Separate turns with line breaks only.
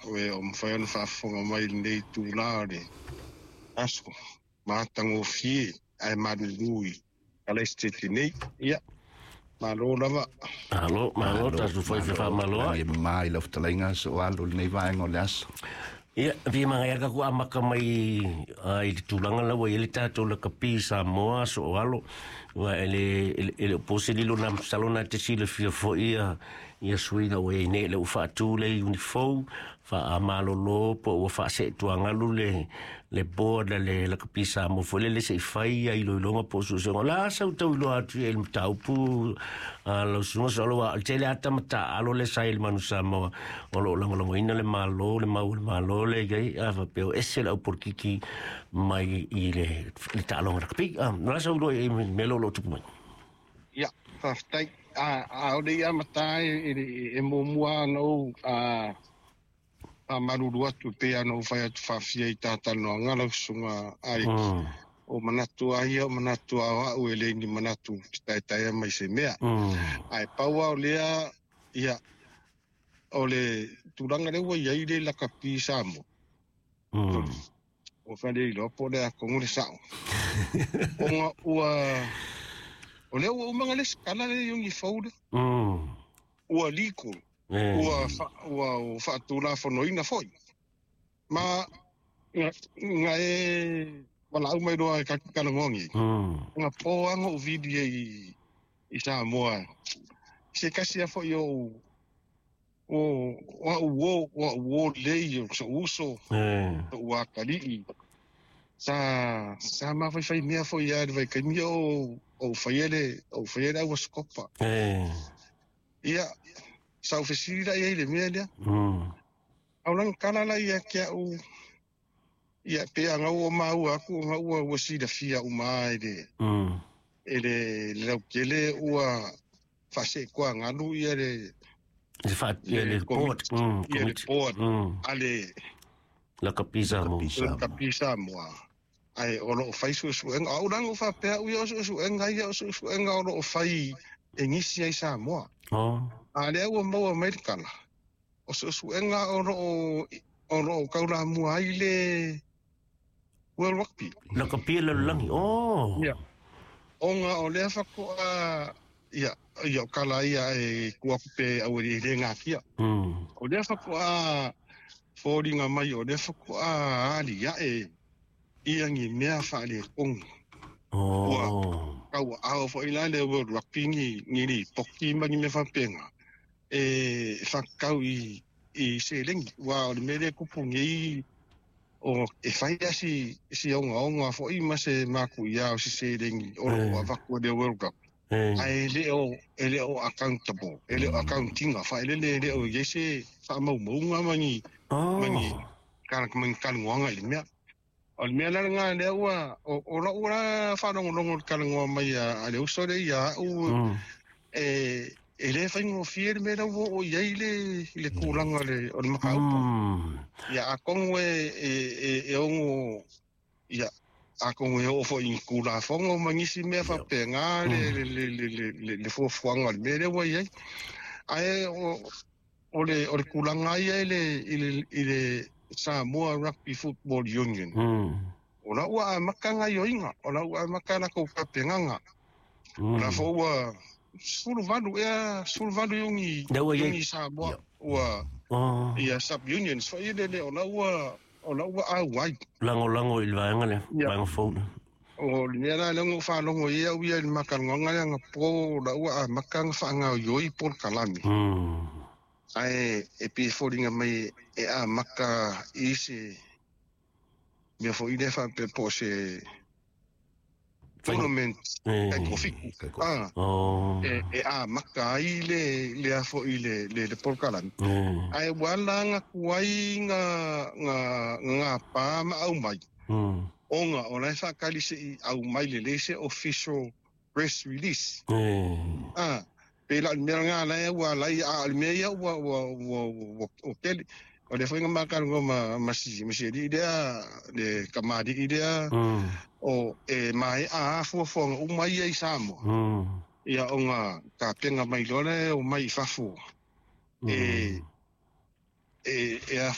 O e o mawhai ona faafofoga mai i lenei itulā o le aso matagofie ae malulu i Kalaisitete nei. Ia, malo lava.
Malo, malo, tatou fai faamalo.
Lagi e mamā i lau fetalaiga so alo lenei vaega o le aso.
Ia, fia magaia ka ku amaka mai i le tulaga la ua i ai le tatou lakapi i Samoa so o alo. Ua e le o po se lilo na masalo na te silafia foi ia suiga ua i ai nei le ua faatu le iuni fou faamalolo po ua faaseetuagalu le board a le lakapi Samoa foi lele se i fai ia iloiloga po o suesuega. O le a sau tau iloa atu i le mataupu lau susuga so alo, le tele ata mataaalo le sa i le Manu Samoa o lo o lagolagoina le Malo, le mau o le Malo le i ai a faapea o ese le au polokiki mai i le taaloga lakapi. O le a sau iloa i mea lo o tupu mai?
Ia, faafetai. A o le i amata e muamua ona ou faamalulu atu pei ona ou fai atu faafia i tatalanoaga lau susuga Alex. O manatu a ia, o manatu a o au e le ni manatu te taetaea mai se mea. Ae pau lava o lea, ia, o le tulaga lea ua i ai le lakapi Samoa. Ua fale iloa po o le a tonu le sao. Ona ua o lea ua uma na lesitala le iuni fou lea. Ua legal. Ua faatulafonoina foi. Ma nga e walaau mai loa e talanoa nei. Nga po anga o vili i Samoa. Se kasi a foi o o o o lei o so uso o akalii. Sa mawhaiwhai mea foi ia le vaikaimi o whaiele o whaiele aua skopa. Ia sa ufesili la ia i le mea lea. Au langa kala la ia kia u ia pe anga ua maua aku anga ua silafia uma e le e le laukele ua faasekoa galu ia le
le board
ia le board ale
lakapi Samoa.
Lakapi Samoa. Ai o loo fai suesuega au langa o faapea u ia o suesuega ia o suesuega o loo fai e nisi ai Samoa. A lea ua maua mai le kala o suesuega o loo kaulamua ai le World Rugby.
Lakapi le lalolagi.
Ia. Ona o lea faatoa ia ia o kala ia e kuaku pe au e le ngakia. O lea faatoa foliga mai o lea faatoa ali ae ia ni mea faaletonu. Ua kau ao foi la le World Rugby ni lipoti ma ni mea faapega e fatatau i seleni. Ua o le mea lea e tupu nei o e fai a si ogaoga foi ma se makuia o se seleni o loo avatu e le World Rugby. Ae e le o accountable, e le o accountinga faelele, e le o i ai se faamaumauga ma ni talanoaga i le mea. O le mea la lena lea ua o lau la faalogologo i le talanoa mai a le uso lea ia au e le faigofie le mea la ua oo i ai le tulaga o le mataupu. Ia atonu e ono ia atonu e oo foi i tulafono ma nisi mea faapena le fuafuaga o le mea lea ua i ai. Ae o le tulaga ia i le Samoa Rugby Football Union. O la ua amata gaioiga, o la ua amata latou tapenaga. O la foi ua 18 ea 18 iuni Samoa ua ia sub unions foi lele o la ua auai.
Lagolago i le vaega lea, vaega fou.
O le mea la lea na ou faalogo ai au ia i le matalanoaga lea na po o la ua amata na faagaoioi polokalame. Ae e pei e foliga mai e amata i se mea foi lea faapea po o se tournament e kofiku. E amata ai le a foi le polokalame. Ae ua ala atu ai nga pa ma au mai. Ona o la e faatali se i au mai lelei se official press release. Pe la o le mea lena la ua alai a o le mea ia ua o tele. O le foi nga makalanoa ma si alii lea le kamalii lea o e mae a fuafuaga uma ia i Samoa. Ia ona tapena mai loa lea o mai i fafo e a